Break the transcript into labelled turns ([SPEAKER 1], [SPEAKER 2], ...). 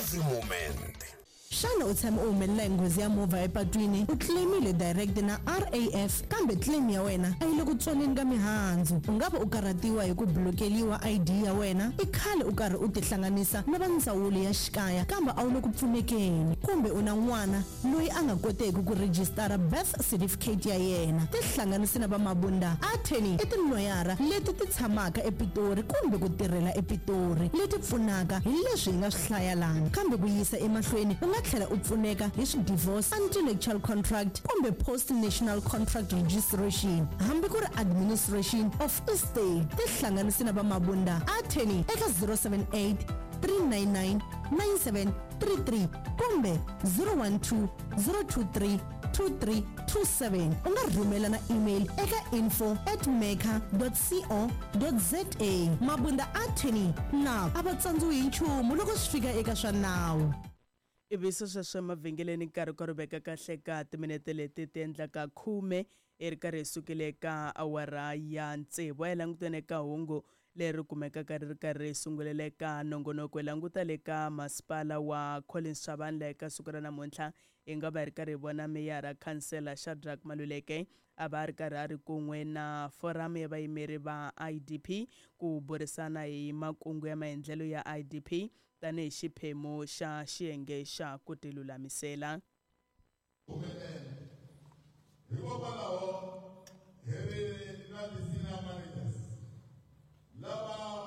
[SPEAKER 1] Every moment.
[SPEAKER 2] Xana u tshame u humelela hi nghozi ya movha epatwini, u claim-ile direct na RAF kambe claim ya wena a yi le ku tswaleni ka mihandzu? U nga va u karhatiwa hi ku blokeliwa ID ya wena, i khale u karhi u tihlanganisa na va ndzawulo ya xikaya kambe a wu le ku pfunekeni, kumbe u na n'wana loyi a nga koteki ku rhijisitara birth certificate ya yena? Tihlanganisi na va Mabunda Attorney i tiloyara leti ti tshamaka ePitori kumbe ku tirhela ePitori leti pfunaka hi leswi hi nga swi hlaya lana. Kambe ku yisa emahlweni u nga tlhela u pfuneka hi swi-divorce, antenuptial contract kumbe post-national contract registration hambi ku ri administration of estate. Tihlanganisi na va Mabunda Attorney eka 078 399 9733 kumbe 012 023 2327. U nga rhumela na email eka info at mecca co za. Mabunda Attorney na a va tsandziwi hi nchumu loko swi fika eka swa nawu.
[SPEAKER 3] Ivi sweswo emavhengeleni nkarhi ka ri veka kahle ka timinete leti ti endlaka khume i ri karhi hi sukile eka awara ya tsevu. A hi languteni eka hungu leri kumekaka ri ri karhi ri sungulela eka nongonoko. Hi languta le ka masipala wa Collins Chabane laha eka siku ra namuntlha hi nga va hi ri karhi hi vona meyara khansela Shadrack Maluleke a va a ri karhi a ri kun'we na foramu ya vayimeri va IDP ku burisana hi makungu ya maendlelo ya IDP tanihi xiphemu xa xiyenge xa ku tilulamisela.
[SPEAKER 4] Humelela. Hikokwalaho.